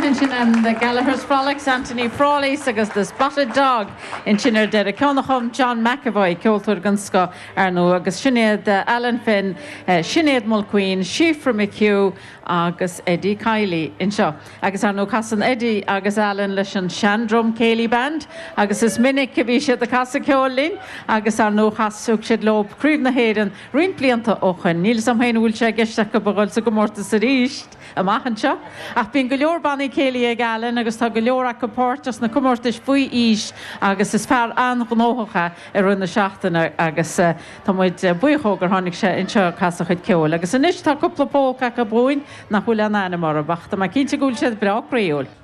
maith ansin and the Gallagher's Frolics, Anthony Frawley's agus The Spotted Dog ansin ar deireadh. Ceann a chum John McEvoy, ceoltóir den scoth ar ndóigh, agus sin iad Alan Finn, Sinéad Mulqueen, Síofra McHugh agus Eddie Kiely anseo. Agus ar ndóigh casann Eddie agus Alan leis an Shandrum Céilí Band agus is minic a bhí siad ag casadh ceoil linn agus ar ndóigh chas, thug siad leo Craobh na hÉireann roinnt blianta ó shoin. Níl 'fhios a'm féin an bhfuil sé i gceist acu a dhul sa gcomórtas arís amach anseo. Ach bíonn go leor bannaí céilí ag Alan agus tá go leor acu páirteach sna comórtais faoi aois agus is fear an-ghnóthach é i rith na seachtaine agus tá muid buíoch dhó gur tháinig sé anseo ag casadh a chuid ceoil. Agus anois tá cúpla pólca acu dhúinn nach bhfuil aon ainm orthu ach tá mé cinnte go bhfuil siad breá croíúil.